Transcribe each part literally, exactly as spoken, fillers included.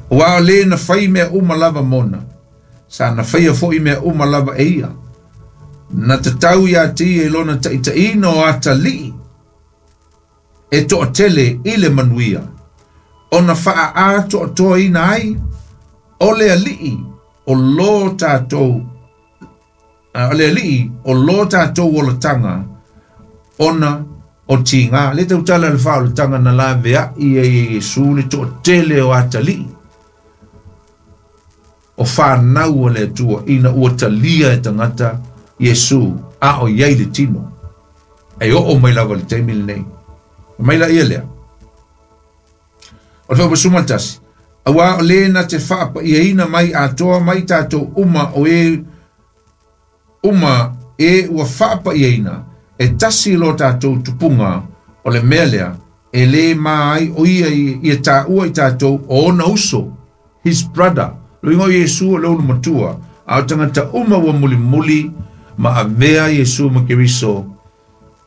Ua o le na fai mea uma lava mona, sa na faia fo'i mea uma lava e ia. Na tatau ia te ia i lona ta'ita'iina o atali'i e to'atele i le manuia, ona fa'aatoatoaina ai o le ali'i o lo tatou o le ali'i o lo tatou olataga ona o tiga. Le tautala le faaolataga na lavea'i ai e Iesu le to'atele o atali'i o fanau o le Atua ina ua talia e tagata Iesu a o iai le tino. E oo mai lava le taimi lenei. Mai la ia lea. O le faupa suma tasi. Auā o lē na te faapa'iaina mai atoa mai tatou uma o e uma e ua faapa'iaina e tasi lo tatou tupuga o le mea lea e lē ma ai o ia ia tāua i tatou o ona uso, his brother. Luiga o Iesu o le ulu matua, a o tagata uma ua mulimuli ma avea Iesu ma Keriso.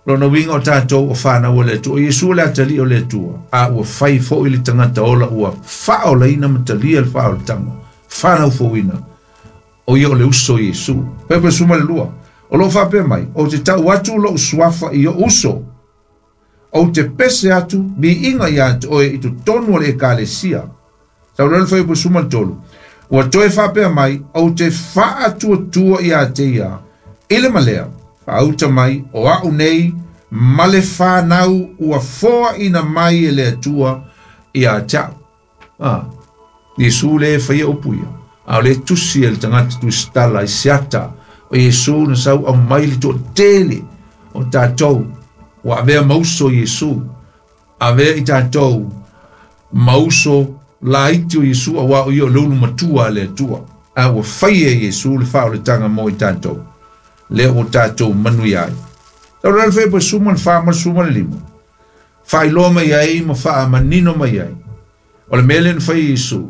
Lona uiga o tatou o fanau o le Atua. O Iesu o le atali'i o le Atua, a ua fai fo'i le tagata ola ua faaolaina ma talia le faaolataga fanau fouina. O ia o le uso o Iesu. Pepe suma le lua. O loo faapea mai, ou te tau atu lo'u suafa i o uso. Ou te pese atu viiga iā te oe i totonu o le ekalesia. Saulele fai suma le tolu. Ua toe faapea mai, ou te faatuatua iā te ia. I le malea, faauta mai, o a'u nei, ma le fanau ua foaʻina mai e le Atua iā te a'u. Ah, Iesu le faia upu ia. A o le tusi e le tagata tusitala i seata. O Iesu na sau au mai le toatele o tatou. Ua avea mauso Iesu. Avea i tatou mauso laiti o Iesu auā o ia o le ulu matua a le Atua. A ua faia e Iesu le faaolataga mo i tatou. Lea ua tatou manuia ai. Tau le fai suma le fa ma suma le lima. Faailoa mai ai ma faamanino mai ai. O le mea lea na fai Iesu.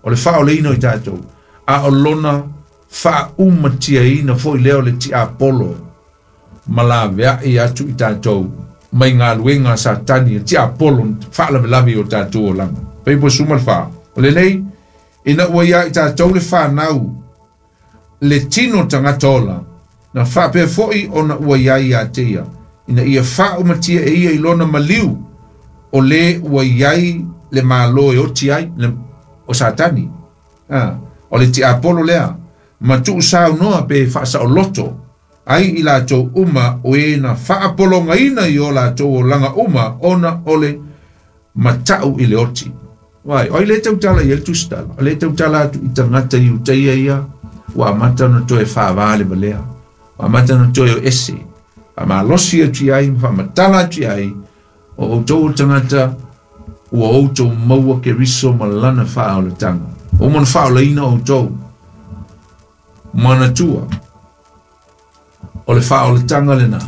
O le faaolaina o i tatou. A o lona faaumatiaina foi lea o le tiapolo ma lavea'i atu i tatou mai galuega a Satani e tiapolo faalavelave o tatou olaga. Fai suma le fa. O lenei, ina ua ia i tatou le fanau le tino tagata ola, na faapea fo'i ona ua iai ia te ia, ina ia faaumatia e ia i lona maliu, o lē ua iai le mālō e oti ai, le, o Satani. Ah, o le tiapolo lea, ma tuusaunoa pe faasaoloto, ai i latou uma o e na faapologaina i o latou olaga uma ona o le mata'u i le oti. Vai, oi le tautala i le tusitala, o le tautala atu i tagata i utaia ia, ua amata ona toe faavā le valea. Ua amata ona toe o ese. Faamalosi atu i ai, ma faamatala atu i ai, o outou o tagata ua outou maua Keriso ma lana faaolataga. O uma ona faaolaina outou. Manatua, o le faaolataga lena.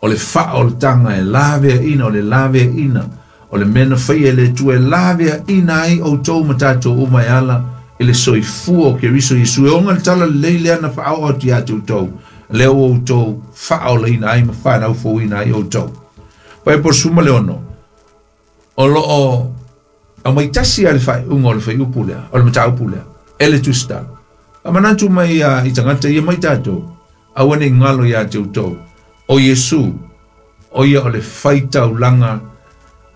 O le faaolataga e laveaina, o le laveaina. O le mea na faia e le Atua e laveaina ai outou ma tatou uma e ala i le soifua o Keriso Iesu. E oga le tala lelei lea na faaoo atu iā te outou. Lea ua outou faaolaina ai ma whanau ai outou. Pai po suma le ono. O loo au mai tasi a le faaiuga o le faiupu lea, o le mataupu lea, e le tusitala. A manatu mai a i tagata ia mai tatou, aua ne i galo iā te outou. O Iesu, o ia o le faitaulaga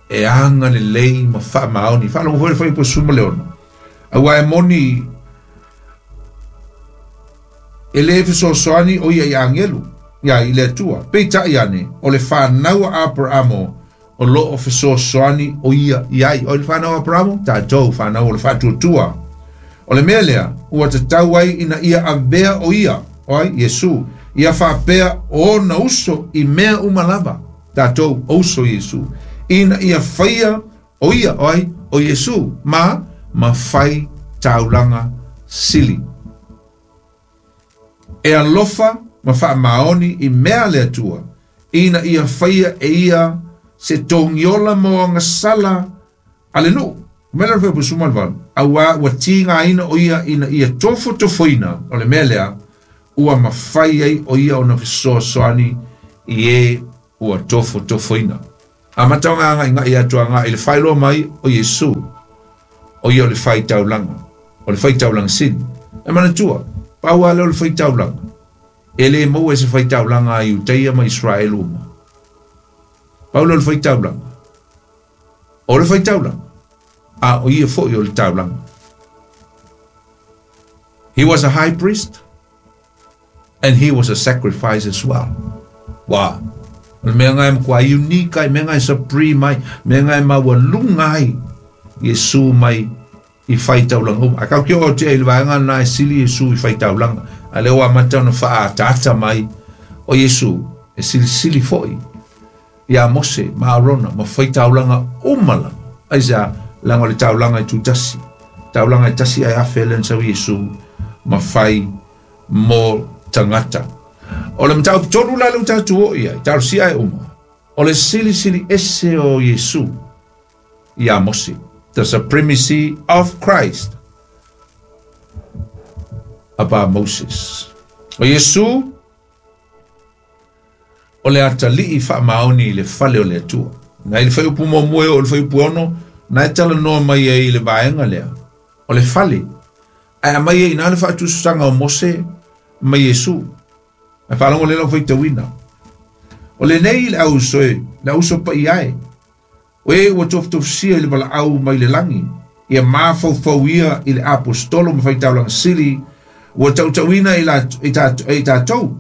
e aga lelei ma faamaoni. Faalogo foi le fai po suma le ono. Auā e moni e lē fesoasoani o ia i agelu, ia i le Atua. Peita'i ane, o le fanau a Aperamo, o loo fesoasoani o ia i ai. O le fanau a Aperamo, tatou fanau o le faatuatua. O le mea lea, ua tatau ai ina ia avea o ia, o ai, Iesu, ia faapea o ona uso i mea uma lava. Tatou o uso Iesu. Ina ia faia o ia, o ai, o Iesu, ma ma fai taulaga sili. E alofa ma faamaoni i mea le Atua, ina ia faia e ia se togiola mo agasala a le nuu. Mea le fai suma le valu. Auā ua tigaina o ia ina ia tofotofoina o le mea lea, ua mafai ai o ia ona fesoasoani i e ua tofotofoina. A mataoga aga inga ia atu aga i le faailoa mai o Iesu. O ia o le faitaulaga, o le faitaulaga sili. E manatua, pau lava lea o le faitaulaga, e lē maua e se faitaulaga a Iutaia ma Israelu uma. Pau lea o le faitaulaga, o le faitaulaga, a o ia foʻi o le taulaga. He was a high priest and he was a sacrifice as well. Wow. O le mea lena e matuā unique ai, mea lena e supreme ai, mea lena e maualuga ai Iesu mai i faitaulaga uma. Ae tatou te oo atu i le vaega lena e sili Iesu i faitaulaga. A lea ua amata ona faaataata mai o Iesu e silisili foʻi iā Mose ma Arona ma faitaulaga uma lava. Aisea? Leaga o le taulaga e tutasi. Taulaga e tasi ae afe lea na sau Iesu ma fai mo tagata. O le mataupu tolu la lea ua tatou oo i ai, talosia e uma, o le silisili ese o Iesu iā Mose. The supremacy of Christ above Moses. O Iesu o le atalii faamaoni i le fale o le Atua. Na i le fuaiupu muamua e oo i le fuaiupu ono, na e talanoa mai ai i le vaega lea, o le fale. Ae aumai ai i ina le faatusatusaga o Mose ma Iesu. Ae faalogo lelei lau faitauina. O lenei le auso e, le auso paia e, o e ua tofutofusia i le valaau mai le lagi, ia mafaufau ia i le aposetolo ma faitaulaga sili, ua tautauina e i tatou.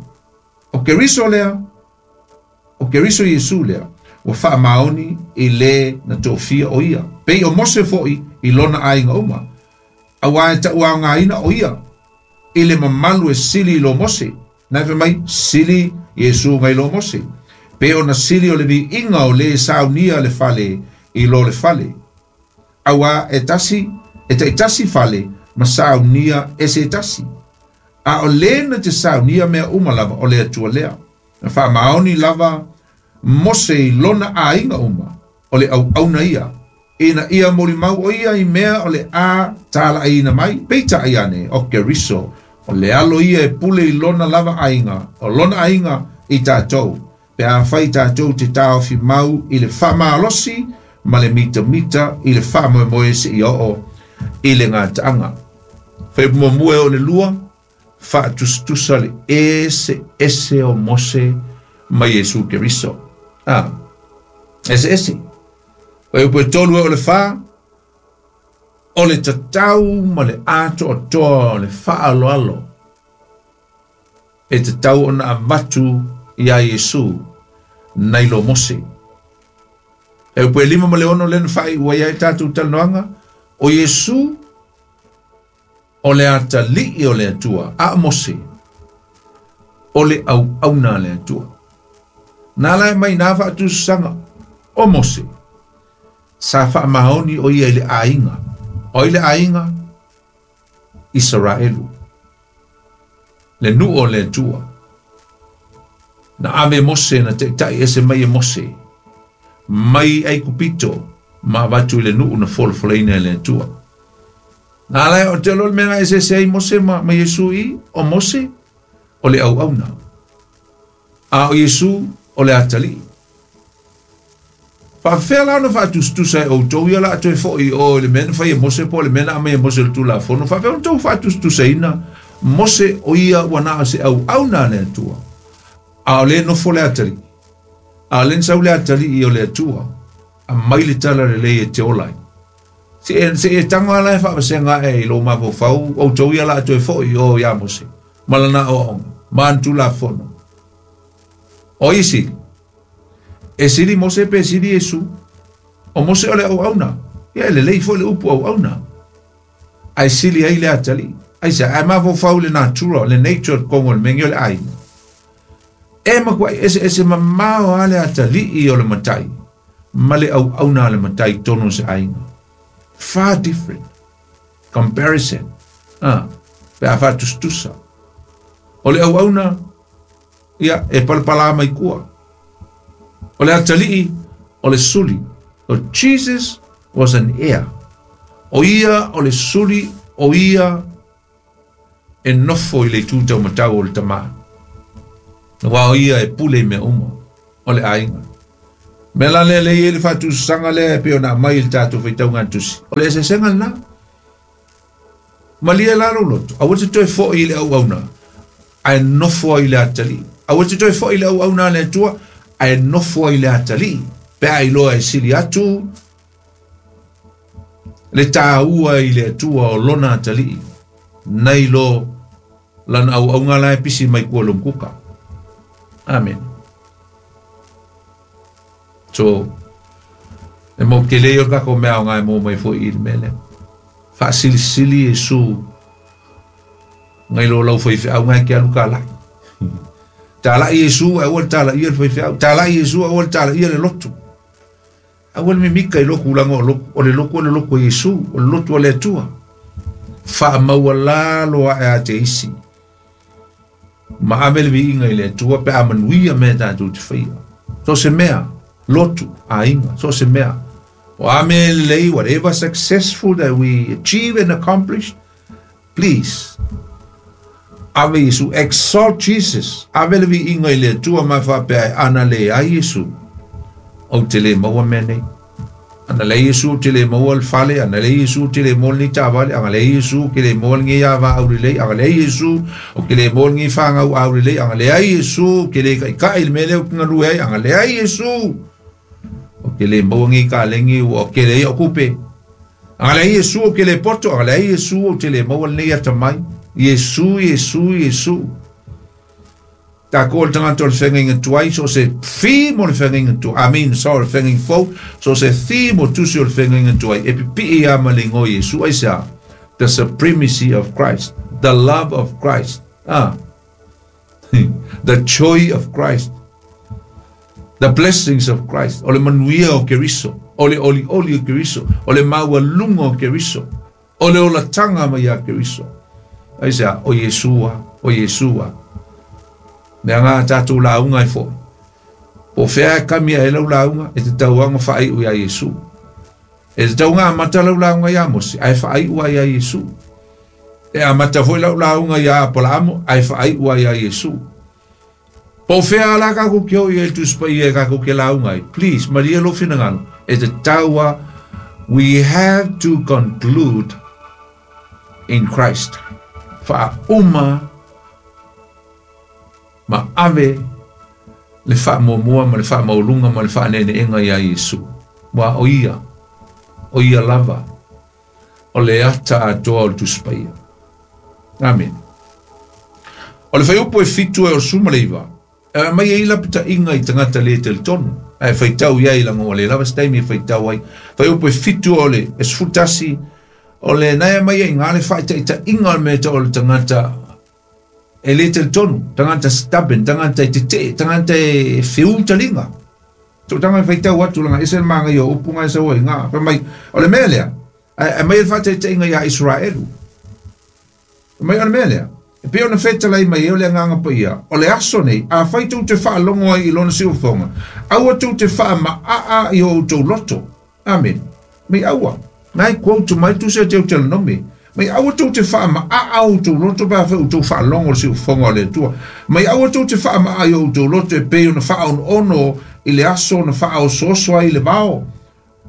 O Keriso lea, o Keriso Iesu lea, ua faamaoni i le na tofia o ia. Pei o Mose foʻi i lona aiga uma, auā e tauaogaina o ia i le mamalu e sili i lo Mose. Na e fai mai, sili Iesu nai lo Mose. Pe ona sili o le viiga o lē saunia le fale i lo le fale. Auā e tasi, e taitasi fale ma saunia e se tasi. A o lē na te saunia mea uma lava o le Atua lea. Na faamaoni lava Mose i lona aiga uma, o le auauna ia, ina ia molimau o ia i mea o le a talaaina mai, peitai ane o Keriso, o le Alo ia e pule i lona lava aiga, o lona aiga i tatou, pe afai tatou te taofi mau i le faamalosi ma le mitamita i le faamoemoe seia oo i le gataaga. Fuaiupu muamua e oo i le lua, faatusatusa le eseese o Mose ma Iesu Keriso. A, eseese. Fuaiupu e tolu e oo i le fa, o le tatau ma le atoatoa o le faaaloalo e tatau ona avatu iā Iesu nai lo Mose. Fuaiupu e lima ma le ono lea na faaiu ai ai tatou talanoaga, o Iesu o le atalii o le Atua, a o Mose o le auauna a le Atua. Na ala e mai nā faatusatusaga o Mose, sa faamaoni o ia i le aiga, o ai le aiga? Isaraelu, le nuu o le Atua. Na ave Mose na taitai ese mai e Mose mai Aikupito ma avatu i le nuu na folafolaina e le Atua. Na ala e o te iloa le mea na eseese ai Mose ma, ma Iesu i, o Mose o le auauna, a o Iesu o le atalii. Faafefea la ona faatusatusa e outou ia o le a toe foʻi i o i le mea na fai e Mose po o le mea na aumai e Mose i le Tulafono? Faafefea ona outou faatusatusaina Mose o ia ua na o se auauna a le Atua, a o lea e nofo le atalii, a o lea na sau le atalii o le Atua aumai le tala lelei e te ola ai? Se e tago lava la e faavasega ae i lou mafaufau outou ia o le a toe foʻi i o iā Mose ma lana aoaoga ma ana Tulafono. O ai e sili? E sili Mose pe sili Iesu? O Mose o le auauna. Ia e lelei foʻi le upu auauna. Ae sili ai le atalii. Aisea? Ae mafaufau le natura, le nature totonu o le mea lenei o le aiga. E matuai eseese mamao lava le atalii o le matai ma le auauna a le matai i totonu o se aiga. Far different. Comparison. Ah, pe a faatusatusa. O le auauna, ia, e palapalā mai kua. O le atalii, o le suli. So Jesus was an heir. O ia o le suli, o ia e nofo i le itu taumatau o le Tamā. Aua o ia e pule i mea uma o le aiga. Mea la lea lea e i ai le faatusatusaga lea e pei ona aumai i le tatou faitauga tusi. O le eseesega lena. Malia la lou loto, aua te toe fo'i i le auauna, ae nofo ai i le atalii. Aua te toe fo'i i le auauna a le Atua, ae nofo ai i le atalii. Pe a iloa e sili atu le tāua i le Atua o lona atalii, nai lo lana auaunga la e pisi mai kua long kuka. Amen. So, e mau ke lei o kako mea o ngai mō mai fo i le mele. Faasilisili Iesu ngai lo lau faifeau ngai ke alu ka lai. Talai Iesu aua le talaia le faifeau. Talai Iesu aua le talaia le lotu. Aua le mimika i loku ulanga o loku. O le loku o le loku o Iesu. O le lotu o le Atua. Faamaualalo ae a te isi. Ma ave le viiga i le Atua pe a manuia mea tatou te faia. So se mea, lotu, aiga, so se mea. O a mea lelei, whatever successful that we achieve and accomplish, please, ave Iesu, exalt Jesus, ave le viiga i le Atua ma faapea e ana leai Iesu, ou te le maua mea nei. Ana leai Iesu ou te le maua le fale, ana leai Iesu ou te le maua lenei taavale, ana leai Iesu ou ke le maua lenei ava aulelei, ana leai Iesu ou ke le maua lenei fagau aulelei, ana leai Iesu ou ke le ka'ika'i i le mea lea ou te galue ai, ana leai Iesu ou ke le maua lenei kalegi ua o kele ai o'u tupe. Ana leai Iesu ou ke le poto, ana leai Iesu ou te le maua lenei atamai. Iesu, Iesu, Iesu. Takou o le tagata o le feagaiga tuai, so o se theme o le feagaiga tuai, I mean, so o le feagaiga fou, so o se theme o tusi o le feagaiga tuai, e pipii lava ma le igoa o Iesu, aisea? The supremacy of Christ, the love of Christ, ah, the joy of Christ, the blessings of Christ, o le manuia o Keriso, o le olioli o Keriso, o le maualuga o Keriso, o le olataga mai ia Keriso. Aisea? O Iesu lava, o Iesu lava. Mea ngā tātou lauga ai fo'i. Po o fea e kami ai lau lauga, e tatau lava ona faai'u iā Iesu. E tatau ona amata lau lauga iā Mose, ae faai'u ai iā Iesu. E amata foi lau lauga iā Apolaamo, ae faai'u ai iā Iesu. Po o fea la kakou ke oo i ai le Tusi Paia e kakou ke lauga ai, please, malie lou finagalo, e tatau lava, we have to conclude in Christ. Faauma ma ave le faamuamua ma le faamaualuga ma le faaneeneega iā Iesu. Aua o Ia, o Ia lava, o le ata atoa o le Tusi Paia. Amene. O le fuaiupu e fitu e o le sefulu ma le iva, e aumai ai lapataiga i tagata le talitonu, ae faitau i ai laga ua le lava se taimi e faitau ai. Fuaiupu e fitu o le sefulu tasi, o le na e aumai ai i ina le faataitaiga o le mea e tau o le tagata e le talitonu, tagata stubborn, tagata e tetee, tagata e feū taliga. Tootaga e faitau atu laga ese le magaia o upu na e sau ai i ina. Fai mai, o le mea lea, ae aumai ai le faataitaiga iā Iseraelu. Fai mai, o le mea lea, e pei ona fetalai mai ai o le Agaga Paia, o le aso nei, afai tou te faalogo ai i lona siufofoga, aua tou te faamaaa i o outou loto. Amene. Mai aua. Ngai quote mai tusi a Deuteronome. Mai aua tou te faamaaa o outou loto pe afai outou faalogo i le siufofoga o le Atua. Mai aua tou te faamaaa i o outou loto e pei ona faaonoono i le aso na faaosooso ai i le vao,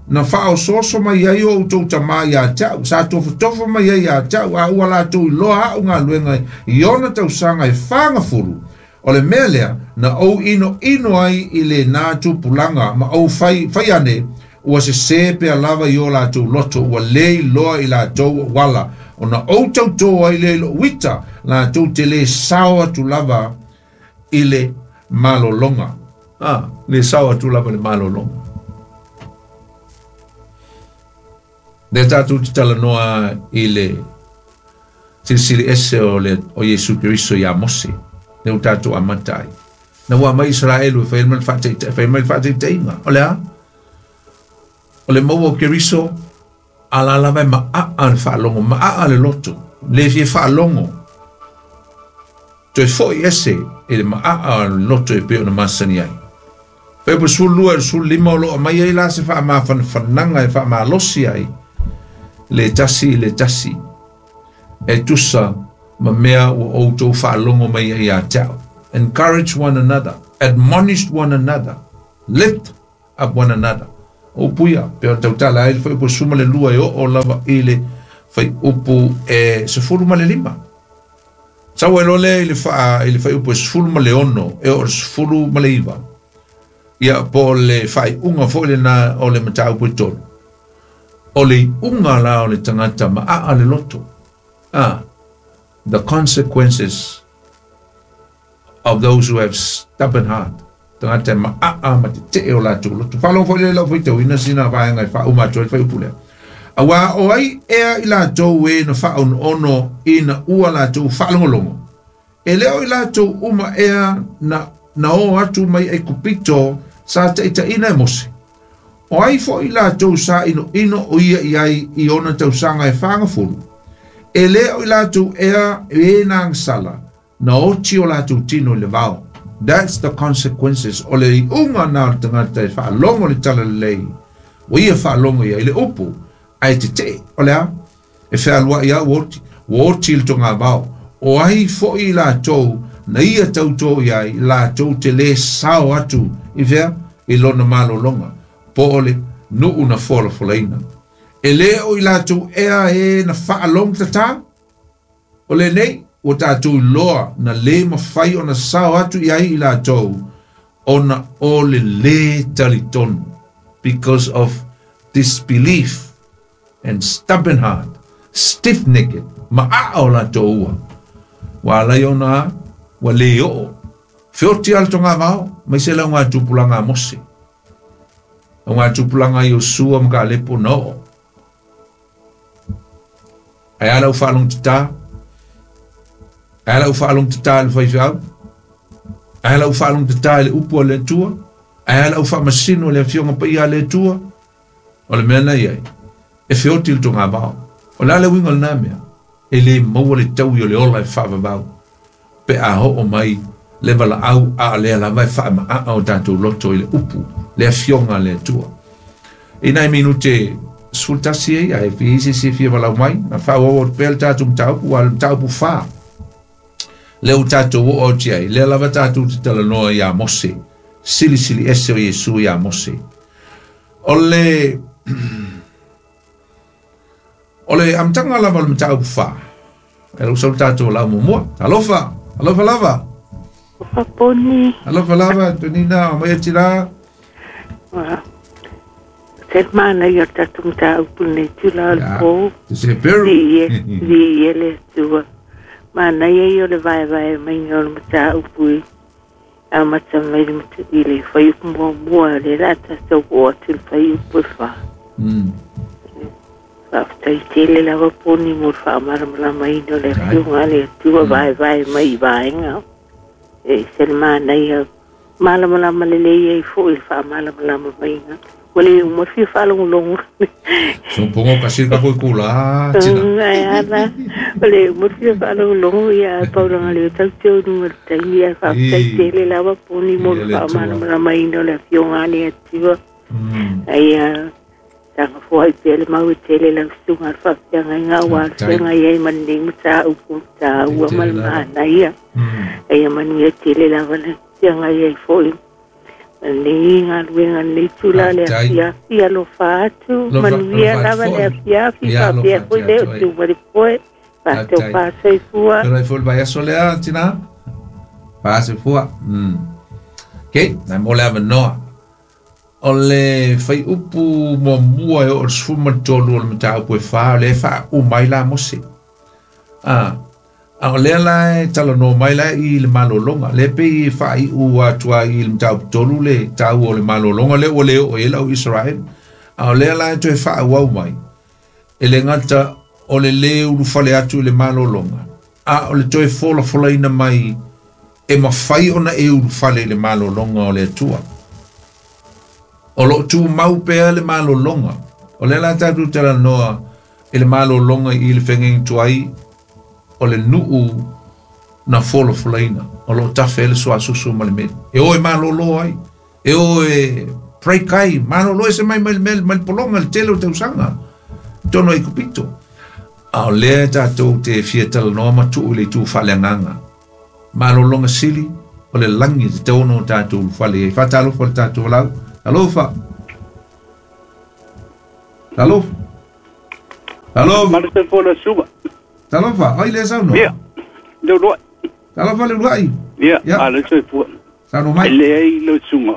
na faaosooso mai ai o outou tamā iā te au, sa tofotofo mai ai iā te au, a ua latou iloa a'u galuega i ona tausaga e fagafulu. O le mea lea na ou inoino ai i lenā tupulaga ma ou fai, fai ane, ua sesē pea lava i o latou loto, ua lē iloa i latou o'u ala, ona ou tautō ai lea i lo'u ita, latou te lē sao atu lava i le malologa. Ah, lē sao atu lava i le malologa. Lea tatou te talanoa i le silisili ese o le o Iesu Keriso iā Mose, lea ua tatou amata ai. Na ua aumai Iseraelu e fai mai le faataitaiga, fai mai le faataitaiga, o le a? O le maua o Keriso, a la lava e maaa le faalogo, maaa le loto, le fia faalogo, toe fo'i ese i le maaa o le loto e pei ona masani ai. Fuaiupu sefulu lua i le sefulu lima o lo o aumai ai la se faamafanafanaga e faamalosi ai le tasi i le tasi e tusa ma mea ua outou faalogo mai ai ia te au. Encourage one another, admonish one another, lift up one another. O upu ia, pei ona tautala ai le fuaiupu sefulu ma le lua e oo lava i le Faiupu e sefulu ma le lima. Sau ai loa lea i le faa i le faiupu e sefulu ma le ono e oo i le sefulu ma le iva. Ia po o le faaiuga foi lena o le mataupu e tolu. O le iuga la o le tagata maaa le loto. Ah, the consequences of those who have stubborn heart. Tagata e maaa ma tetee o latou loto. Faalogo foi lea i lau faitauina sina vaega e faauma atu ai le faiupu lea. Auā o ai ea i latou e na faaonoono ina ua latou faalogologo. E le o i latou uma ea na na o atu mai Aikupito sa taʻitaʻina e Mose. O ai foʻi latou sa inoino o ia i ai i ona tausaga e fagafulu. E lē o i latou ea e na agasala na oti o latou tino i le vao. That's the consequences o le iuga na o le tagata e faalogo i le talalelei ua ia faalogo i ai le upu ae tetee. O le a? E fealuai a ua oti, ua oti i le togavao. O ai foʻi i latou na ia tautō i ai latou te lē sao atu i fea i lona malologa po o le nuu na folafolaina. E lē o i latou ea e na faalogo tatā. O lenei ua tatou iloa na lē mafai ona sao atu i ai i latou ona o le lē talitonu, because of disbelief and stubborn heart, stiff-necked, maaa o latou ua. Ua alai ona ua lē oo. Feoti a le togavao, mai se lau tupulaga a Mose. Lauga tupulaga a Iosua ma Kalepo na oo. Ae a lau faalogotatā? Ae a lau faalogotatā i le faifeau? Ae a lau faalogotatā i le upu a le Atua? Ae a lau faamasino i le afioga paia a le Atua? O le mea na i ai, e feoti le togavao. O le a le uiga o lenā mea? E lē maua le taui o le ola e faavavau. Pe a oo mai le valaau a lea lava e faamaaa o tatou loto i le upu, le afioga a le Atua. I nai minute sefulu tasi ai, ae fia i se isi e fia valau mai, na faaauau atu pea le tatou mataupu, ua le mataupu fa. Lea ua tatou oo atu i ai, lea lava tatou te talanoa iā Mose, silisili ese o Iesu iā Mose. O le o le amataga lava o le mataupu fa, e lau sau le tatou lau muamua. Alofa, alofa lava. Alofa poni. Alofa lava, Antonina, o mai ati la. Wa. Se mana i o tatou mataupu nei tula o le pō. Te se peru. Li li e le Atua. Manaia ia o le vaevae maiga o le mataupu i amata mai le i le faiupu muamua le la tatou oo atu i le faiupu e fa. Mm. Faafetai tele lava poni mo le faamalamalamaina o le afioga a le Atua vaevae mai i vaega. E se le manaia malamalama lelei ai foi le faamalamalama maiga. Ua le uma le fia faalogologo. Sopogo kasi ka foi kula tina. Ai ala, ua le uma le fia faalogologo ia paulaga le o tau te o luga o le taimi ae faafetai tele lava poni mo le faamalamalamaina o le afioga a le Atua. Ai saga foai pea le mau e tele lau susuga a le faafeagaiga aua le feagai ai ma lenei mataupu taua ma le manaia. Aia manuia tele lava le feagai ai foi ma lenei galuega lenei tula le afiafi alofa atu manuia lava le afiafi faapea foi le o tu ma le poe faatau faasoifua. Felai foi le vaiaso lea tina. Faasoifua. Mm. Okay, nai mo le avanoa. O le faiupu muamua e oo i le sefulu ma le tolu o le mataupu e fa, o lea e faauma ai la Mose. Ah, a o lea la e talanoa mai la i le malologa. Lea pei e faaiu atu ai i le mataupu tolu le taua o le malologa lea ua le oo i ai lau Israel. A o lea la e toe faaauau mai. E le gata o le lē ulufale atu i le malologa, a o le toe folafolaina mai e mafai ona e ulufale i le malologa o le Atua. O loo tumau pea le malologa. O lea la tatou talanoa i le malologa i le feagaiga tuai o le nuu na folafolaina. O loo tafe ai le suasusu ma le meli. E o e malolo ai. E o e break ai. Malolo e se mai mai le meli, mai le pologa, le tele o tausaga. Tonu ai kupito. A o lea tatou te fia talanoa ma tuu i le itu faaleagaga. Malologa sili o le lagi e tatau ona o tatou ulufale ai. Faatalofa le tatou lau. Alofa. Alofa. Talofa. Malo se fola suba. Talofa, ai le sauno. Ia. Le uluai. Talofa le uluai. Ia, ale se fua. Sauno mai. Le ai le sunga.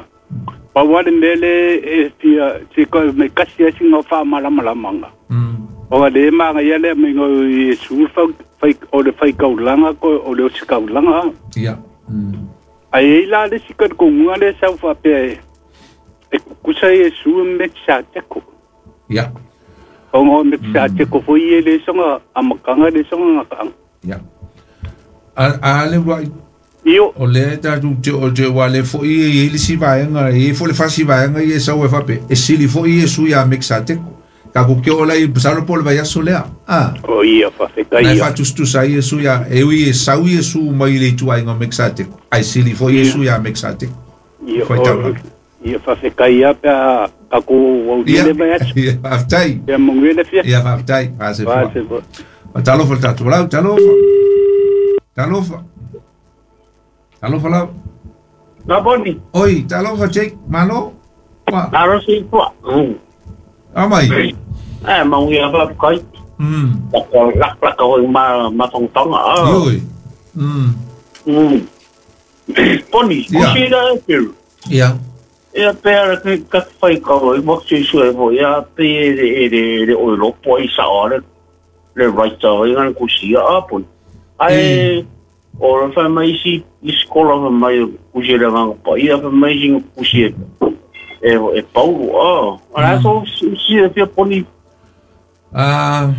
Pa wale mele e fia se ko me kasi asi ngo fa mala mala manga. Mm. O le manga ia le me ngo i su fa fai o le fai kaulanga ko o le sikaulanga. Ia. Mm. Ai la le sika ko ngua le sa fa pe e kusa e su me sa te ko. Ia. O ngo me sa te ko foi le songa amakanga le songa ka. Ia. A a le uluai. Io o le tatu te o te wale fo i i si vaenga i fo le fasi vaenga i sa o fa pe e sili fo i su ya mexate ka ku ke ola i salo pol va ya solea ah o ia fa fe ka ia ia fa tu tu sa i su ya e i sa i su mai le tu ai ngo mexate ai sili fo i su ya mexate ia ia fa fe ka ia pa ka ku o le va ya aftai ya mongele fia ia fa aftai fa se fa talo fa tatu la talo talo Talofa lau. Laboni. Oi, talofa Jake, malo. Wa. Aro si kwa. Mm. Amai. Eh, mau ia ba kai. Mm. Lak lak lak ko ma ma tong tong a. Oi. Mm. Mm. Boni, kusi la e. Ia. Ia pe ara ke ka fai ka oi mo si su e vo ia pe e le le o lo po i sa ora. Le right o ngan kusi a po. Ai o fa mai si escola mai kusi le ngang pa ia fa mai si kusi e e Paulo a. Ara so si e fia poni. Ah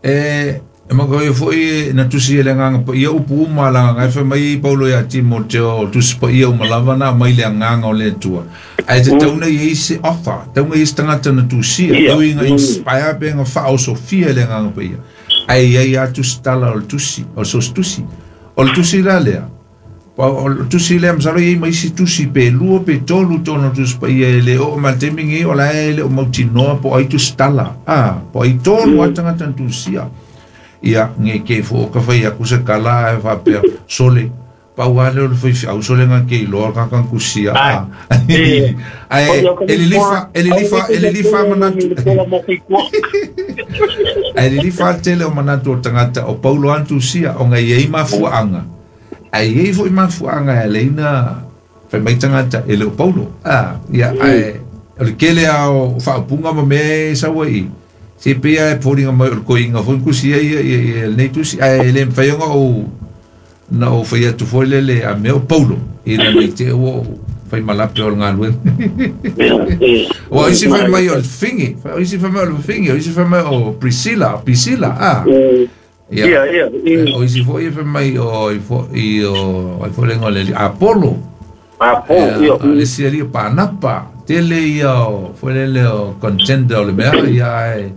e ma ko foi na tusi le ngang pa ia upu ma la ngai fa mai Paulo ia Timoteo tusi pa ia malava na mai le ngang o le tua. Ai te tauna i se offer, tauna i tangata na tusi, tau inga inspire pe nga fa o Sofia le ngang pa ia. Ai ai a tusi tala o tusi, o sos tusi. O tusi la lea. O tusi lea msalo i mai si tusi pe lua pe tolu tono tusi pa ia le o matemingi o la ele o mautinoa po ai tusi tala. Ah, po ai tolu a tangata tusia. Ia nge ke fo ka fai aku se kala e fa pe sole pa wa le fo fi au sole nga ke lo ka kan kusia a ai elilifa elilifa elilifa manatu elilifa tele o manatu o tangata o Paulo antusia o ngai ei mafuanga ai ei fo mafuanga leina fa mai tangata ele o Paulo a ia ai o le kele ao fa punga ma me sawai se pia e poringa mai o koinga fo kusia ia ia nei tusi ai le mfayonga o na o fai atu foi lele a meo Paulo i na nei te o fai malape o ngalue o isi fai mai o fingi isi fai mai o fingi o isi fai mai o Priscilla Priscilla ah ia ia o isi foi fai mai o i o ai foi lengo le Apollo Apollo ia le si ali panapa tele ia o foi lele o contender o le mea ia ai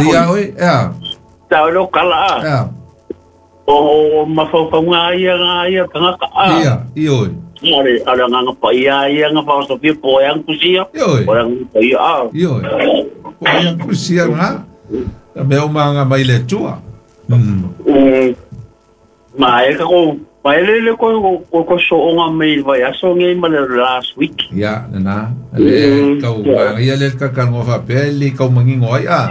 ia oi ia tau lo kala ia o mafaufauga ia nga ia tangata a ia ioi ale ala nga pa ia ia nga pa so po yang kusia o yang pa ia a ioi po yang kusia nga me o manga mai le tua mm ma e ko pa ele le ko ko ko so nga mai vai aso ngai ma last week ia na le kau ia le ka ka ngo fa pe le kau mangingo ai a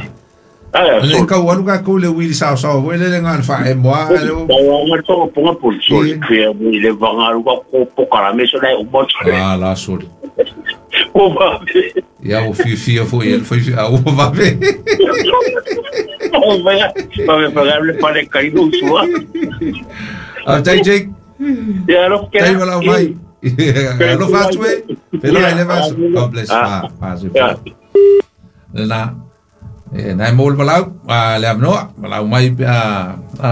le kau alu ka ko le wili sa sa o le le ngan fa e moa le o nga to ponga pul so ke le vanga lu ka ko pokara me so le o mo ah la so o va ia o fi fi fo el foi a o va ve o va va me pagar le pare caído sua a tai Jake ia lo que tai va la mai lo fa tu e pero ele va God bless ah fa na e nai mol palau a le amnoa palau mai a a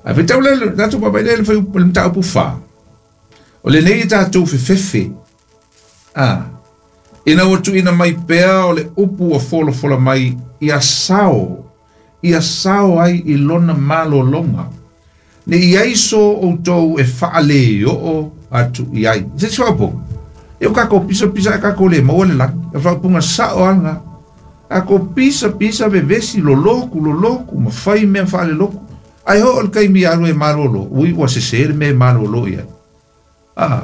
a fetau le tatu papai le foi le mtau pufa o le nei tatu fefefe a ina o ina mai pea o le upu o folo folo mai ia sao ia sao ai i lona malolonga ne ia iso o tou e faale o atu i ai se swapo e o kako pisa pisa kako le mo le la fa punga sao anga ako pisa pisa vevesi loloku loloku ma fai mea faale loku ai ho o kai mi alu e malolo ui ua se se me malolo ia ah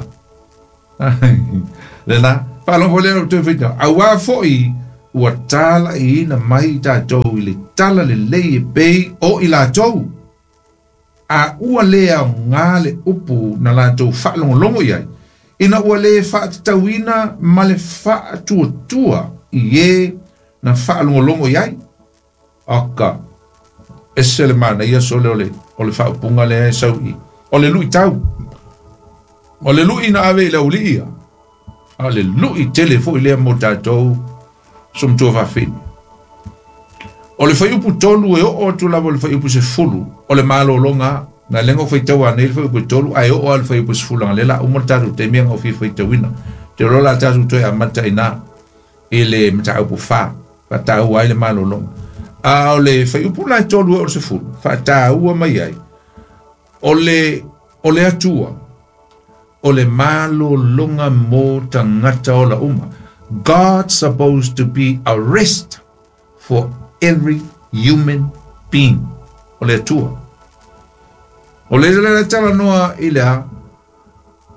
le na falon vole o te fita awa foi Ua tala i ina mai tātou i le tala le lei e pei o i lātou. A ua lea o ngā le upu na lātou whaalongolongo iai. Ina ua le whaatatauina ma le whaatuatua i e na whaalongolongo iai. Aka, ese le mana ia so le ole, ole whaupunga le e sau i. O le lui tau. O le lui na ave i le uli ia. A le lui tele fo i lea mo tātou sumtua whawhini. O le whaiupu tolu e o atu lava o le whaiupu se fulu. O le malolonga, na lengo whaitau a nei le whaiupu tolu, ai o a le whaiupu se fulu. Lela umo le tātou te mea ngau fi whaitauina. Te rola tātou toe a mata ina i le mataupu wha. Whatau ai le malolonga. A o le whaiupu lai tolu e o le se fulu. Whataua mai ai. O le, o le atua. O le malolonga mo tangata o la uma. God's supposed to be a rest for every human being. O le atua. O le le tala noa i lea,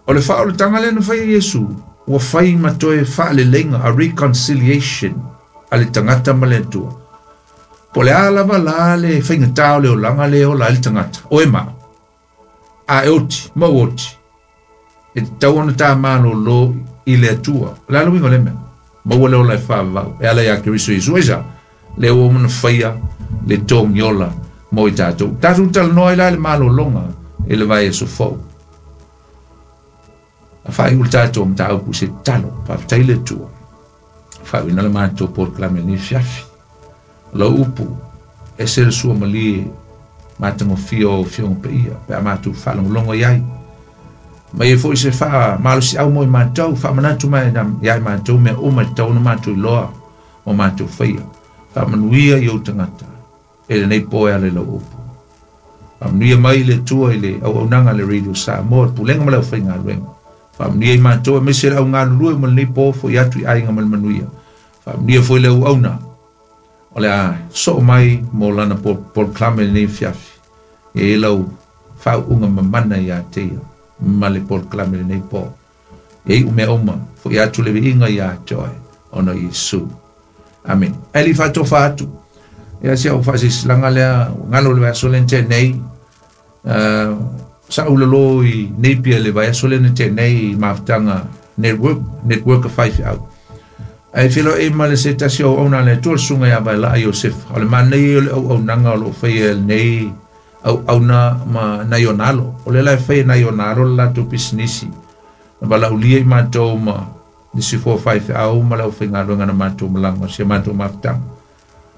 o le wha o le tanga lena whai Yesu, ua whai matoe wha le lenga, a reconciliation, a le tangata ma le atua. Po le alava la le whainga tau le o langa le o la le tangata. O e maa. A e oti, mau oti. E te tau ona tā malo lo i le atua. Le alo wingo le mea. Maua le ola e whaavau. E ala ia Keriso Yesu esa. Le o mana whaia le tōngiola mo i tātou. Tātou talanoa i la le malolonga e le vai e sofou. A whai ul tātou mtāupu se talo. Pāwhitai le atua. Whai wina le mātou pōrklame ni fiafi. Lau upu. E se le sua malie mātango fio fiongo pe ia. Pe a mātou whalongolongo iai. Mai e foi se wha malosi au mo i mātou, wha manatu mai iai mātou mea uma tau na mātou i loa o mātou whaia. Wha manuia i au tangata, e le nei poe ale lau upu. Wha manuia mai le tua i le au aunanga le Radio Samoa, pulenga ma lau whai ngā luenga. Wha manuia i mātou e mese au ngā lulue ma le nei po fo i atu i ainga ma le manuia. Wha manuia foi le au auna, o le a so mai mo lana pol klame le nei fiafi. E lau whau unga mamana i a teia. Ma le pol klame le nei po. E umea uma, fo i atu le inga i a toe, ona Yesu. Amen. Eli whato whatu. Ia se au whaasisilanga lea, ngalo le vaiaso le te nei, uh, sa ulalo i Napier le vaiaso le te nei i mafutanga network, network of five au. Ai filo e ma le se tasi au auna le tua sunga ia vai la Iosef. O le manei o le au aunanga o lo whaia nei au auna ma nai o nalo. O le lai whaia nai o nalo le latou pisinisi. Na wala ulia i mātou ma nisi four five au ma lau whainga luenga na mātou malanga sia mātou mafutanga.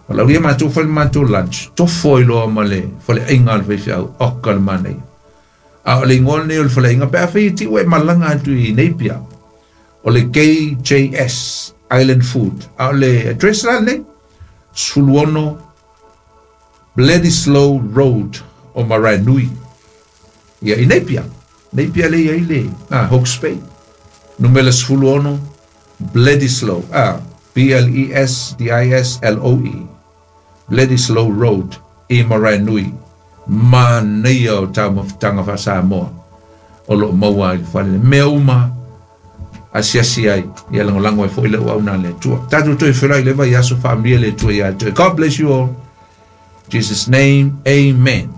Wala ulia mātou whale mātou lunch. Tofo i loa ma le whale ainga le whai au oka le manei. A o le ingoa nei o le whale ainga pe a whai ti ue malanga atu i Napier. O le K J S Island Food. A o le address la nei Suluono Bledisloe Road o Maraenui. Ia i Napier. Napier le ia i le. Ah, Hawke's Bay. Numela sefuluono Bledisloe. Ah, B L E S D I S L O E. Bledisloe Road i Maraenui. Manaia o tau mafutanga wha Samoa. O lo maua i le whale. Mea uma asiasi ai. Ia langolango e fo i le uauna le tua. Tātou toi whira i lewa i aso whaamria le tua ia tua. God bless you all. In Jesus' name, amen.